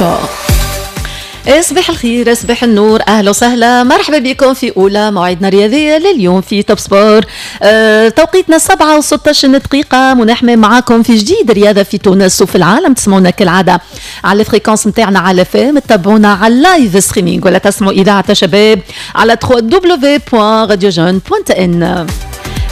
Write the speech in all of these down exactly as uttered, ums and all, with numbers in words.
Sport. صباح الخير، صباح النور، اهلا وسهلا، مرحبا بكم في اولى موعدنا الرياضية لليوم في Top Sport. أه توقيتنا سبعة وستة عشر دقيقه، منحمي معاكم في جديد رياضة في تونس وفي العالم. تسمعونا كالعادة على ال fréquence نتاعنا على F M، تتابعونا على ال live streaming ولا تسمعوا اذاعة شباب على www.radiojeune.tn.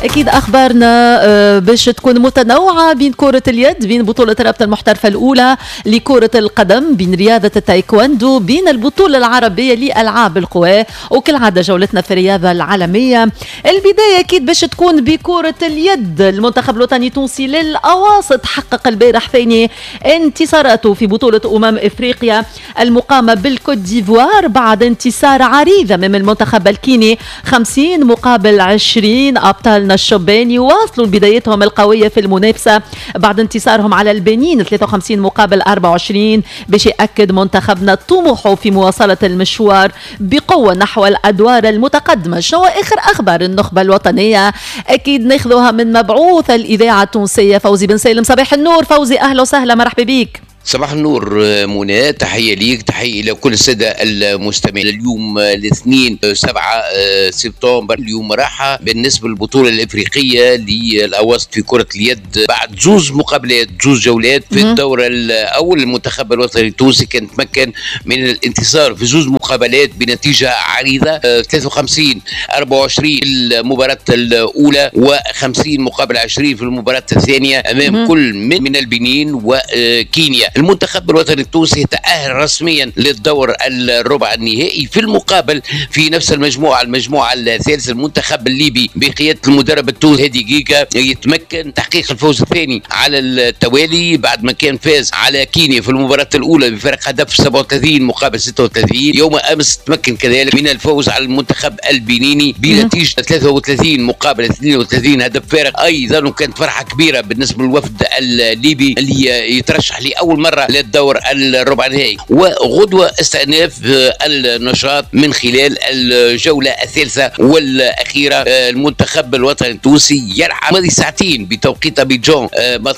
اكيد اخبارنا آه، باش تكون متنوعة بين كره اليد، بين بطوله الرابطة المحترفه الاولى لكرة القدم، بين رياضة التايكواندو، بين البطولة العربية لالعاب القوى، وكالعادة جولتنا في الرياضة العالميه. البداية اكيد باش تكون بكره اليد. المنتخب الوطني التونسي للاواسط حقق البارح ثاني انتصاراته في بطوله امم افريقيا المقامة بالكوت ديفوار بعد انتصار عريض امام المنتخب الكيني خمسين مقابل عشرين. ابطالنا الشبان يواصلوا بدايتهم القوية في المنافسة بعد انتصارهم على البنين ثلاثة وخمسين مقابل أربعة وعشرين، باش يأكد منتخبنا طموحه في مواصلة المشوار بقوة نحو الأدوار المتقدمة. شنو آخر أخبار النخبة الوطنية؟ أكيد ناخذها من مبعوث الإذاعة التونسية فوزي بن سالم. صباح النور فوزي، أهلا وسهلا، مرحبا بك. صباح النور منى، تحية ليك، تحية إلى كل السادة المستمعين. اليوم الاثنين سبعة سبتمبر، اليوم راحة بالنسبة للبطولة الإفريقية للأواسط في كرة اليد بعد زوز مقابلات، زوز جولات في الدور الأول. المنتخب الوطني التونسي كان تمكن من الانتصار في زوز مقابلات بنتيجة عريضة، ثلاثة وخمسين أربعة وعشرين المباراة الأولى وخمسين مقابل عشرين في المباراة الثانية أمام كل من البنين وكينيا. المنتخب الوطني التونسي تأهل رسميا للدور الربع النهائي. في المقابل، في نفس المجموعة، المجموعة الثالثة، المنتخب الليبي بقيادة المدرب التونسي هادي جيجا يتمكن تحقيق الفوز الثاني على التوالي بعد ما كان فاز على كينيا في المباراة الأولى بفارق هدف سبعة وثلاثين مقابل ستة وثلاثين. يوم أمس تمكن كذلك من الفوز على المنتخب البنيني بنتيجة ثلاثة وثلاثين مقابل اثنين وثلاثين، هدف فارق أيضا، وكانت فرحة كبيرة بالنسبة للوفد الليبي اللي يترشح لأول مرة للدور الربع النهائي. وغدوة استئناف النشاط من خلال الجولة الثالثة والأخيرة. المنتخب الوطني التونسي يلعب ماضي ساعتين بتوقيت أبيجان،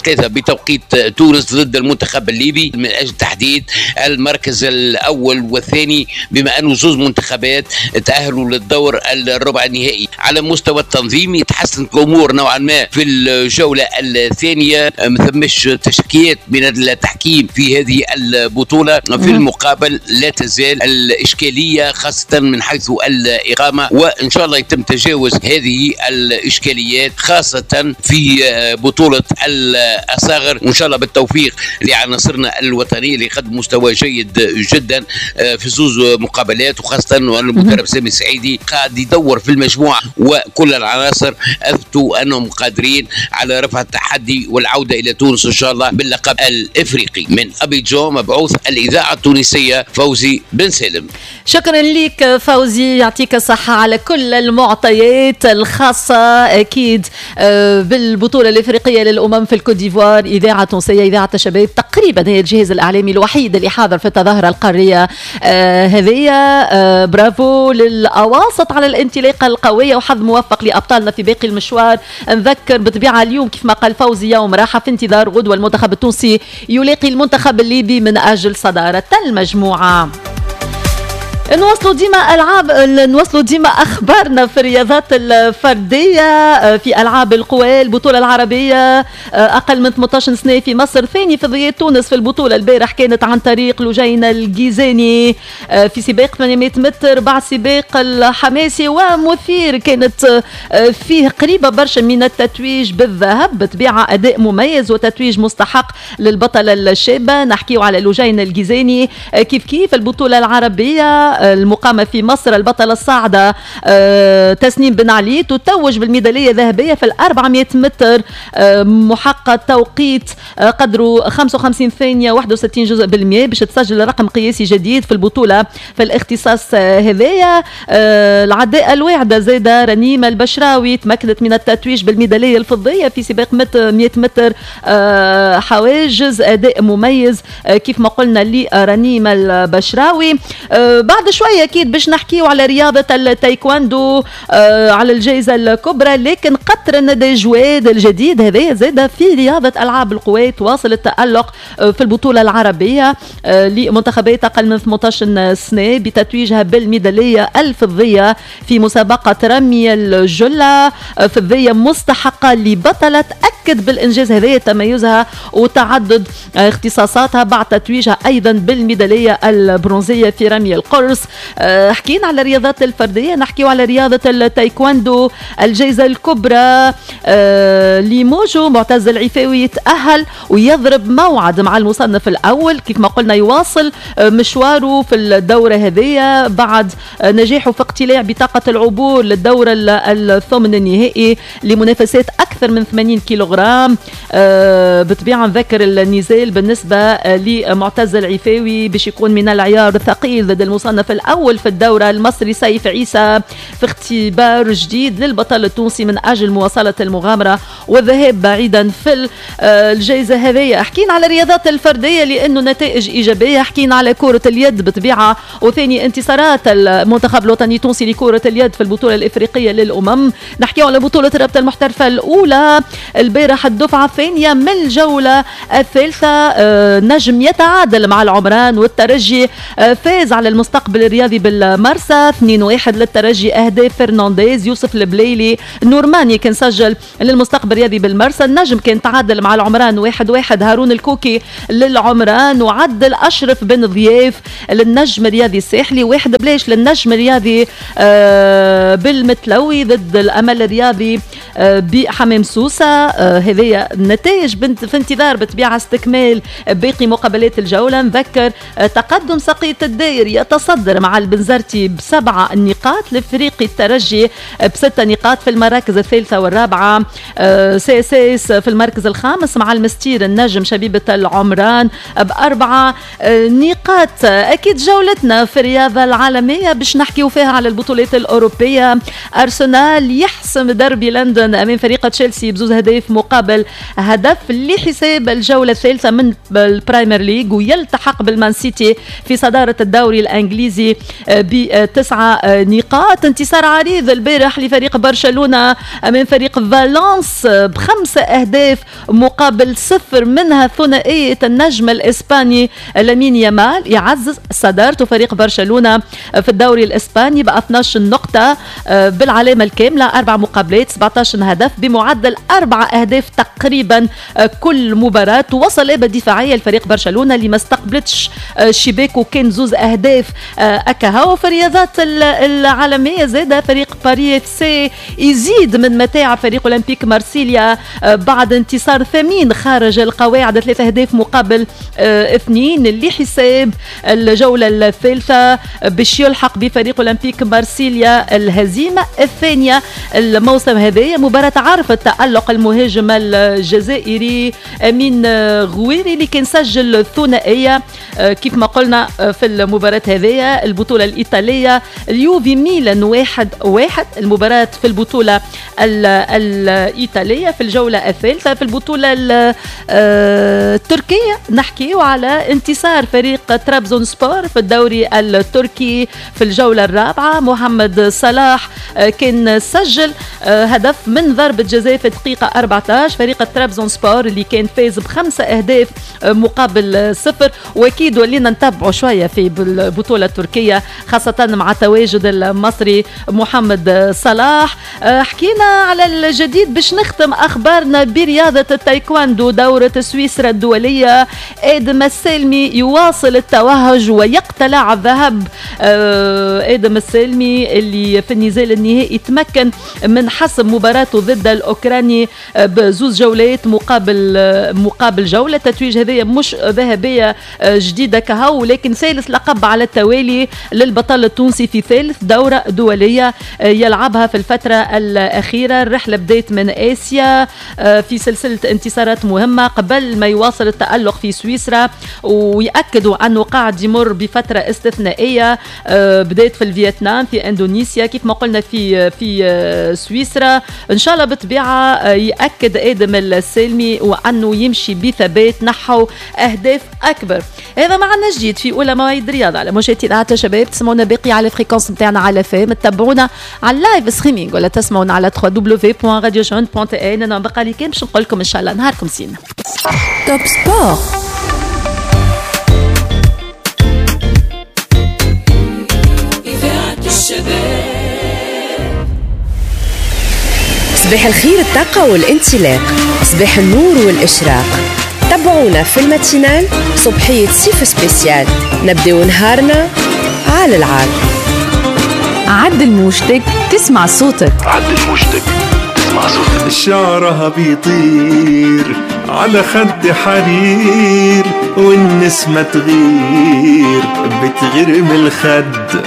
ثلاثة بتوقيت تونس، ضد المنتخب الليبي من أجل تحديد المركز الأول والثاني، بما أنه زوز منتخبات تأهلوا للدور الربع النهائي. على المستوى التنظيمي تحسنت الأمور نوعا ما في الجولة الثانية، ما ثمش تشكيات من التحكيم في هذه البطولة. في المقابل لا تزال الإشكالية خاصة من حيث الإقامة، وإن شاء الله يتم تجاوز هذه الإشكاليات خاصة في بطولة الأصاغر، وإن شاء الله بالتوفيق لعناصرنا الوطنية اللي قدم مستوى جيد جدا في زوز مقابلات، وخاصة وأن المدرب سامي السعيدي قاعد يدور في المجموعة، وكل العناصر أثبتوا أنهم قادرين على رفع التحدي والعودة إلى تونس إن شاء الله باللقب الإفريقي. من أبيجان، مبعوث الإذاعة التونسية فوزي بن سالم. شكرا لك فوزي، يعطيك الصحة على كل المعطيات الخاصة أكيد آه، بالبطولة الإفريقية للأمم في الكوت ديفوار. إذاعة تونسية، إذاعة الشباب، تقريبا هي الجهاز الإعلامي الوحيد اللي حاضر في التظاهرة القارية آه، هذه. آه، برافو للأواسط على الانطلاقة القوية وحظ موفق لأبطالنا في باقي المشوار. نذكر بطبيعة اليوم كيف ما قال فوزي يوم راحة في انتظار غدوة المنتخب التونسي يلاقي المنتخب الليبي من أجل صدارة المجموعة. نواصلوا ديما العاب، نواصلوا ديما اخبارنا في الرياضات الفرديه. في العاب القوى، البطولة العربية اقل من ثمنطاش سنة في مصر، ثاني فضيات تونس في البطولة البارح كانت عن طريق لجين الجيزاني في سباق ثمانمية متر بعد سباق الحماسي ومثير كانت فيه قريبه برشا من التتويج بالذهب. بطبيعة اداء مميز وتتويج مستحق للبطله الشابه، نحكيو على لجين الجيزاني. كيف كيف البطولة العربية المقامة في مصر، البطلة الصاعدة آه، تسنيم بن علي تتوج بالميدالية الذهبية في ال أربعمية متر، آه، محقق توقيت آه، قدره خمسة وخمسين ثانية واحد وستين جزء بالمئة باش تسجل رقم قياسي جديد في البطولة في الاختصاص هذايا. العداء الواعدة زادة رنيمة البشراوي تمكنت من التتويج بالميدالية الفضية في سباق مية متر حواجز، أداء مميز كيف ما قلنا لرنيمة البشراوي. بعد بعد شوية أكيد باش نحكيو على رياضة التايكواندو، على الجائزة الكبرى، لكن قطر الندى جواد الجديد هذا زاد في رياضة ألعاب القوى تواصل التألق في البطولة العربية لمنتخبات أقل من ثمانية عشر سنة بتتويجها بالميدالية الفضية في مسابقة رمي الجلة، فضية مستحقة لبطلة أكد بالإنجاز هذا تميزها وتعدد اختصاصاتها بعد تتويجها أيضا بالميدالية البرونزية في رمي القرص. حكينا على الرياضات الفردية، نحكيو على رياضة التايكواندو، الجائزة الكبرى لموجو معتز العفاوي يتأهل ويضرب موعد مع المصنف الأول، كيف ما قلنا يواصل مشواره في الدورة هذه بعد نجاحه في اقتلاع بطاقة العبور للدورة الثمن النهائي لمنافسات أكثر من ثمانين كيلوغرام. بطبيعة نذكر النزال بالنسبة لمعتز العفاوي باش يكون من العيار الثقيل ضد المصنف الأول في الدورة المصري سيف عيسى، في اختبار جديد للبطل التونسي من أجل مواصلة المغامرة والذهاب بعيدا في الجائزة هذه. حكينا على الرياضات الفردية لأنه نتائج إيجابية، حكينا على كرة اليد بطبيعة وثاني انتصارات المنتخب الوطني التونسي لكرة اليد في البطولة الإفريقية للأمم، نحكي على بطولة الرابطة المحترفة الأولى البارح الدفعة الثانية من الجولة الثالثة، نجم يتعادل مع العمران والترجي فاز على المستقبل الرياضي بالمرسى اثنين واحد للترجي، أهداف فرنانديز، يوسف البليلي، نورماني كان سجل للمستقبل الرياضي بالمرسى. النجم كان تعادل مع العمران واحد واحد، هارون الكوكي للعمران وعدل أشرف بن ضياف للنجم الرياضي الساحلي، واحد بلاش للنجم الرياضي بالمتلوي ضد الأمل الرياضي بحمام سوسة. هذه النتائج في انتظار بطبيعة استكمال باقي مقابلات الجولة. نذكر تقدم سقية الداير يتصدر مع البنزرتي بسبعة نقاط، الافريقي الترجي بستة نقاط في المراكز الثالثة والرابعة، CSS في المركز الخامس مع المستير النجم شبيبة العمران بأربعة نقاط. أكيد جولتنا في الرياضة العالمية باش نحكيو فيها على البطولات الأوروبية. أرسنال يحسم دربي لندن أمام فريق تشيلسي بزوز أهداف مقابل هدف لحساب الجولة الثالثة من البرايمر ليج، ويلتحق بالمان سيتي في صدارة الدوري الإنجليزي بتسعة نقاط. انتصار عريض البارح لفريق برشلونة أمام فريق فالنس بخمسة أهداف مقابل صفر، منها ثنائية النجم الإسباني لامين يامال يعزز صدارته فريق برشلونة في الدوري الإسباني ب اثناش نقطة بالعلامة الكاملة، أربع مقابلات سبعة عشر هدف بمعدل أربع أهداف تقريبا كل مباراة. وصل دفاعية لفريق برشلونة اللي ما استقبلتش شباك وكان زوز أهداف أكاهو. في الرياضات العالمية زاد فريق باريس اف سي يزيد من متاع فريق أولمبيك مارسيليا بعد انتصار ثمين خارج القواعد، ثلاثة أهداف مقابل اثنين لحساب الجولة الثالثة باش يلحق بفريق أولمبيك مارسيليا الهزيمة الثانية الموسم هذا. مباراة عرفت تألق المهاجم الجزائري أمين غويري اللي كان سجل ثنائية كيف ما قلنا في المباراة هذه. البطولة الإيطالية اليوفي ميلان واحد واحد، المباراة في البطولة الإيطالية في الجولة الثالثة. في البطولة التركية نحكي على انتصار فريق ترابزون سبور في الدوري التركي في الجولة الرابعة. محمد صلاح كان سجل هدف من ضربة جزاء في دقيقة أربعة عشر، فريق ترابزون سبور اللي كان فاز بخمسة أهداف مقابل صفر. وأكيد ولينا نتبعوا شوية في البطولة التركية خاصة مع تواجد المصري محمد صلاح. حكينا على الجديد باش نختم أخبارنا برياضة التايكواندو، دورة سويسرا الدولية. آدم السالمي يواصل التوهج ويقتلع الذهب. آدم السالمي اللي في النزال النهائي تمكن من حسم مباراته ضد الأوكراني بزوز جولات مقابل مقابل جولة. التتويج هذه مش ذهبية جديدة كهو، لكن ثالث لقب على التوالي للبطل التونسي في ثالث دورة دولية يلعبها في الفترة الأخيرة. الرحلة بدأت من آسيا في سلسلة انتصارات مهمة قبل ما يواصل التألق في سويسرا، ويأكدوا أنه قاعد يمر بفترة استثنائية. بدأت في الفيتنام، في اندونيسيا، كيف ما قلنا في في سويسرا. إن شاء الله بطبيعة يأكد آدم السالمي وأنه يمشي بثبات نحو أهداف أكبر. هذا معنا جديد في أولى مواعيد رياضة على موجات. اذاعة الشباب. تسمعونا باقي على fréquence نتاعنا على F M، تتبعونا على ال live streaming ولا تسمعونا على W W W point radiojeune point T N. انا بقى لي كان باش نقول لكم ان شاء الله نهاركم زين. Top Sport. إذاعة الشباب. صباح الخير، الطاقة والانطلاق، صباح النور والإشراق. تابعونا في ال matinale صبحية صيف spécial، نبداو نهارنا على العال. عدل موجتك تسمع صوتك. عدل موجتك تسمع صوتك. شعرها بيطير على خد حرير، والنسمة تغير، بتغير من الخد.